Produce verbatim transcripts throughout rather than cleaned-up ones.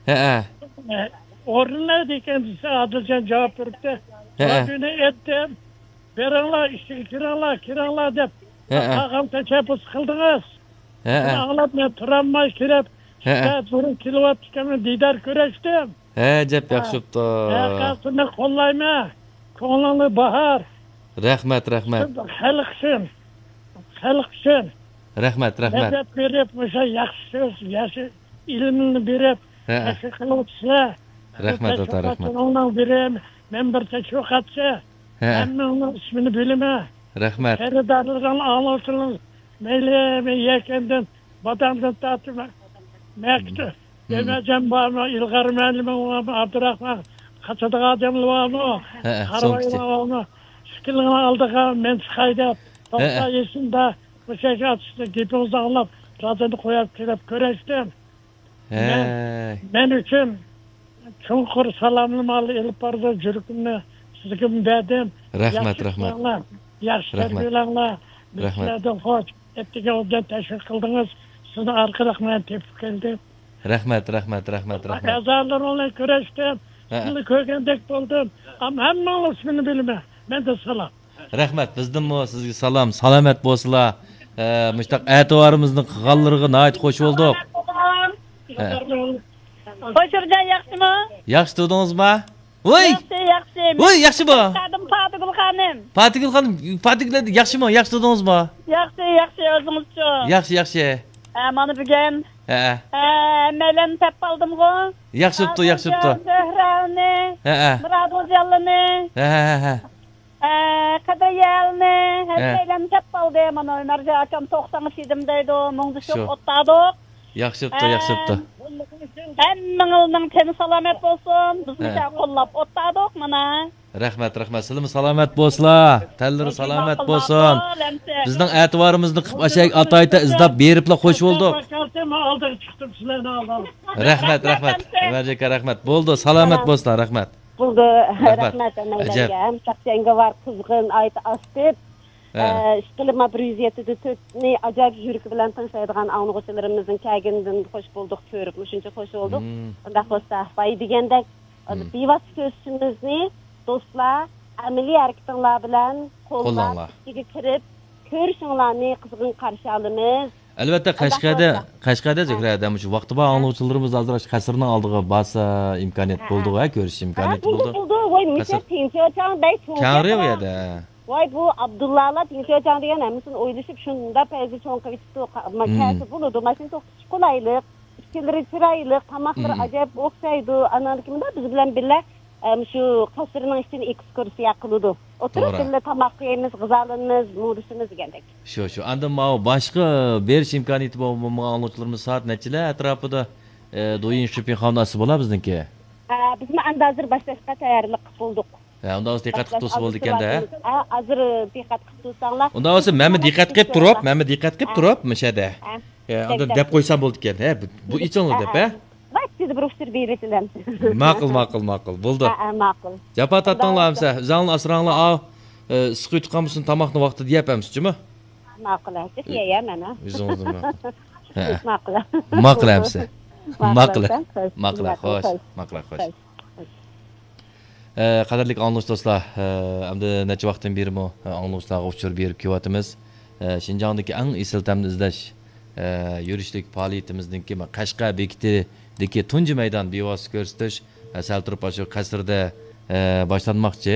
ھەئە. ئورۇنلايدىكەن دېسە، ئادىلجان جاۋاب بېرىپتۇ. ھەئە. رادىيونى ئېيتتىم، بېرىڭلار، ئىچىگە كىرىڭلار، كىرىڭلار دەپ. ھەئە. قالغان تەشەببۇس قىلدىڭىز. ھەئە. شۇنى ئاڭلاپ مەن تۇرالماي كىرىپ، ھەئە. سائەت بۇرۇن كېلىۋاتىدىكەن، دىدار كۆرۈشتۈم. ھە، جەپ ياخشى بوپتۇ. ھەقىقەتنى قوللايمەن. كۆڭلۈڭنى باھار. رەھمەت، رەھمەت. خەلق ئۈچۈن، خەلق ئۈچۈن. رەھمەت، رەھمەت. مەدەت بېرىپ، مۇشۇ ياخشى سۆز، ياخشى ئىلىمنى بېرىپ، ھە. تەشۋىق قىلىۋاتىسىلەر. رەھمەت، ئاتا، رەھمەت. تەشۋىقاتچىنىڭ بىرى، مەن بىر تەشۋىقاتچى. ھە. ھەممىڭنىڭ ئىسمىنى بىلىمەن. رەھمەت. خېرىدارلىرىڭ، ئاڭلىغۇچىلىرىڭ، مەيلى، مەن يەكەندىن، بادامدىن تارتىپ، مەكتۇ، مم. ئۆمەرجان بارمۇ، ئىلغار مۇئەللىمىڭ بارمۇ، ئابدۇراخمان، قاچىدىغان ئادەملەر بارمۇ، ھە، ھە، قارىۋايلار بارمۇ، ئىككىلىنىڭ ئالدىغا مەن چىقاي دەپ، ھە، ھە. توقسان يېشىمدا مۇشۇ ئاتۇشنى گېپىڭىزنى ئاڭلاپ، رادىيونى قويۇپ كېلىپ كۆرۈشتۈم. مەن، ھەي. مەن ئۈچۈن چوڭقۇر سالاملىماقنى ئېلىپ بارىدۇ، يۈرىكىمنى سىزگىمۇ بەردىم. رەھمەت، ياخشى رەھمەت. ئىشلەڭلار، ياخشى رەھمەت. تەربىيەلەڭلار. بىز رەھمەت. سىلەردىن خوش. ئەتىگەن ئوبدان تەشۋىق قىلدىڭىز. سىزنىڭ ئارقىلىق مەن تېپىپ كەلدىم. رەھمەت، رەھمەت، رەھمەت، رەھمەت. ئەزالىرىڭ بىلەن كۆرۈشتۈم. ھە. سىزنى كۆرگەندەك بولدۇم. ئەمما ھەممىڭلار ئىسمىنى بىلىمەن. مەندىن سالام. رەھمەت، بىزدىنمۇ سىزگە سالام، سالامەت بولسىلا. ئە، مۇشتاق ئەتىۋارىمىزنىڭ قىلغانلىرىغا ناھايىتى خوش بولدۇق. ھە. خوش ئۇرجان، ياخشىمۇ؟ ياخشى تۇردىڭىزما؟ ۋوي! ياخشى، ياخشى. ۋوي، ياخشىمۇ؟ خادىم پاتىگۈل خانىم. پاتىگۈل خانىم، پاتىگۈل، ياخشىمۇ؟ ياخشى تۇردىڭىزما؟ ياخشى، ياخشى، ئۆزىڭىزچۇ؟ ياخشى، ياخشى. ھە، مانا بۈگۈن. ھە. ھە، ھەممەيلەننى تېپىپ ئالدىمغۇ. ياخشى بوپتۇ، ياخشى بوپتۇ. زۆھرەنى، ھە، ھە. مۇرادۇلجانلىنى. ھە، ھە، ھە. ئە، قەدرىيەلنى، ھە. ھەممەيلەننى تېپىپ ئالدى. مانا ئۆمەرجان ئاكام توقسان ئىدىم دەيدۇ، مۇڭدىشىپ شۇ. ئولتۇردۇق. ياخشى بوپتۇ، ئە، ياخشى بوپتۇ. ھەممىڭلارنىڭ تېنى سالامەت بولسۇن. بىز ھە. مۇشۇ قوللاپ ئولتۇردۇق مانا. رەھمەت، رەھمەت. سىلىمۇ سالامەت بولسىلا. تەنلىرى سالامەت بولسۇن. بىزنىڭ ئەتىۋارىمىزنى قىلىپ ئاشايىك ئاتايتا ئىزداپ بېرىپلا خوش بولدۇق. مەن ئالدىغا چىقتىم سىلەرنى ئالدىم. رەھمەت، رەھمەت. ئۆمەرجان ئاكا، رەھمەت. بولدى، سالامەت بولسىلا، رەھمەت. بولدى، رەھمەت. رەھمەت ئەجەب. ھەممەيلەنگە، ھەم شاخجەڭگە بار قىزغىن ئايت ئاستىپ، ھە. ئە، ئىشقىلىپ، ما بىر يۈز يەتتە دە تۆتنى ئاجايىپ يۈرىكى بىلەن تىڭشايدىغان ئاڭلىغۇچىلىرىمىزنىڭ كەلگىنىدىن خوش بولدۇق، كۆرۈپمۇ شۇنچە خوش بولدۇق. مم. شۇنداق بولسا، بايا دېگەندەك، مم. بىۋاسىتە كۆرۈشۈشىمىزنى دوستلار، ئەمەلىي ھەرىكىتىڭلار بىلەن قوللاپ، قوللاڭلار. ئىچىگە كىرىپ، كۆرۈشۈڭلارنى قىزغىن قارشى ئالىمىز. ئەلۋەتتە، قەشقەردە، قەشقەردە زۆھرە، دەم شۇ ۋاقتى بار ئاڭلىغۇچىلىرىمىز ھازىر ئاشۇ قەسىرنىڭ ئالدىغا بارسا ئىمكانىيەت بولىدۇ، ھە، كۆرۈش ھە، ئىمكانىيىتى بولىدۇ، بولىدۇ. بولىدۇ. ۋاي، مىسال قەسىر تىڭچىياۋچاڭ بەي، كەڭرى ئۇ يەردە. ۋاي، بۇ ئابدۇللالار تىڭچىياۋچاڭ دېگەن ھەممىسىنى ئويلىشىپ، شۇنداق پەيزى چوڭ قىلىۋېتىپتۇ. قا-، ما-، مم. كەلسە بولىدۇ، ماشىنا توختىتىش قولايلىق، ئىچكىلىرى چىرايلىق، تاماقلىرى مم. ئاجايىپ ئوخشايدۇ. ئاناندىكىن بىز بىلەن بىللە ئە، مۇشۇ قەسىرنىڭ ئىچىنى ئېكسكۇرسىيە قىلىدۇ. ئولتۇرۇپ توغرا. بىللە تاماق يەيمىز، غىزالىنىمىز، مۇڭدىشىمىز دېگەندەك. شۇ، شۇ. ئاندىن ماۋۇ باشقا بېرىش ئىمكانىيىتى بولمىغان ئاڭلىغۇچىلىرىمىز سائەت نەچچىلەر ئەتراپىدا، ئە، دويىن شىپىنخاۋنىڭ ئاستى بولا بىزنىڭكى؟ ئە، بىزمۇ ئەمدى ھازىر باشلاشقا تەييارلىق قىلىپ بولدۇق. ھە، ئۇنداق بولسا دىققەت قىلىپ تۇرسا بولىدىكەن-دە، ھە؟ ھە، ھازىر دىققەت قىلىپ تۇرساڭلار. ئۇنداق بولسا مەنمۇ دىققەت قىلىپ تۇرۇپ، مەنمۇ دىققەت قىلىپ ھە. تۇرۇپ، مۇشەدە. ھە. ئە، ئاندىن دەپ قويسام بولىدىكەن، ھە، بۇ، بۇ ئېچىڭلار دەپ، ھە؟ ۋاي، سىزدە بىر ئۇچۇر بېرىۋېتىلەمسىز. ماقۇل، ماقۇل، ماقۇل. بولدى. ھە، ھە، ماقۇل. جاپا تارتىڭلار ئەمسە، ئۆزۈڭلار ئاسراڭلار، ئاۋۇ، ئە، ئىسسىق ئۆتۈپ قالمىسۇن، تاماقنى ۋاقتىدا يەپ ئەمسە، جۇمۇ؟ ماقۇل، ھە، سىز يەيە، مەن، ھە. ئۆزىڭىزدىن ماقۇل. ھە. ماقۇل. ماقۇل ئەمسە. ماقۇل، ماقۇل. ماقۇل، خوش. ماقۇل، خوش. خوش. ئە، قەدىرلىك ئاڭلىغۇچى دوستلار، ئە، ئەمدى نەچچە ۋاقىتتىن بېرىمۇ، ئە، ئاڭلىغۇچىلارغا ئۇچۇر بېرىپ كېلىۋاتىمىز. ئە، شىنجاڭدىكى ئەڭ ئېسىل تەمنى ئىزدەش، ئە، يۈرۈشلۈك پائالىيىتىمىزنىڭكى قەشقەر بېكىتىدىكى تۇنجى مەيدان بىۋاسىتە كۆرسىتىش، ئە، سەل تۇرۇپ ئاشۇ قەسىردە، ئە، باشلانماقچى.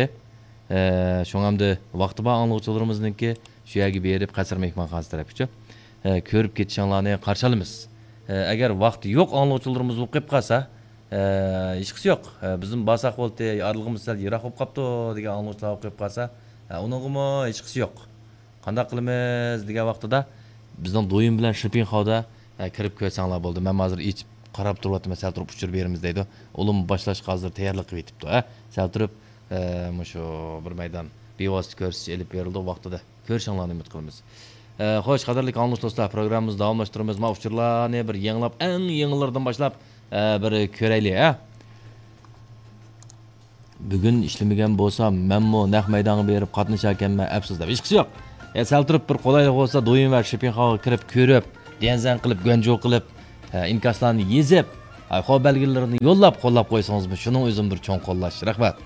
ئە، شۇڭا ئەمدى ۋاقتى بار ئاڭلىغۇچىلىرىمىزنىڭكى شۇ يەرگە بېرىپ، قەسىر مېھمانخانىسى تەرەپكىچۇ، ئە، كۆرۈپ كېتىشىڭلارنى قارشى ئالىمىز. ئە، ئەگەر ۋاقتى يوق ئاڭلىغۇچىلىرىمىز بولۇپ قېلىپ قالسا، ئە، ھېچقىسى يوق. ئە، بىزمۇ بارساق بولدى، ئارىلىقىمىز سەل يىراق بولۇپ قاپتۇ دېگەن ئاڭلىغۇچىلار بولۇپ قېلىپ قالسا، ئە، ئۇنىڭغىمۇ ھېچقىسى يوق. قانداق قىلىمىز دېگەن ۋاقتىدا، بىزنىڭ دويىن بىلەن شىپىنخاۋدا، ئە، كىرىپ كۆرسەڭلار بولدى. مەن ھازىر ئېچىپ قاراپ تۇرۇۋاتىمەن، سەل تۇرۇپ ئۇچۇر بېرىمىز دەيدۇ. ئۇلۇمۇ باشلاشقا ھازىر تەييارلىق قىلىۋېتىپتۇ، ھە. سەل تۇرۇپ، ئە، مۇشۇ بىر مەيدان بىۋاسىتە كۆرسىتىش ئېلىپ بېرىلىدۇ ۋاقتىدا. كۆرۈشۈڭلارنى ئۈمىد قىلىمىز. ئە، خوش، قەدىرلىك ئاڭلىغۇچى دوستلار، پروگراممىمىزنى داۋاملاشتۇرىمىز. مانا ئۇچۇرلارنى بىر يېڭىلاپ، ئەڭ يېڭىلىرىدىن باشلاپ، ئە، بىر كۆرەيلى، ھە. بۈگۈن ئىشلىمىگەن بولسام، مەنمۇ نەق مەيدانغا بېرىپ قاتنىشاركەنمەن، ئەپسۇس دەپ. ھېچقىسى يوق. ئە، سەل تۇرۇپ بىر قولايلىق بولسا، دويىن ۋە شىپىنخاۋغا كىرىپ كۆرۈپ، ديەنزەن قىلىپ، گۇەنجۇ قىلىپ، ئە، ئىنكاسلارنى يېزىپ، ھاي، خو بەلگىلىرىنى يوللاپ قوللاپ قويسىڭىزمۇ، شۇنىڭ ئۆزىمۇ بىر چوڭ قوللاش. رەھمەت.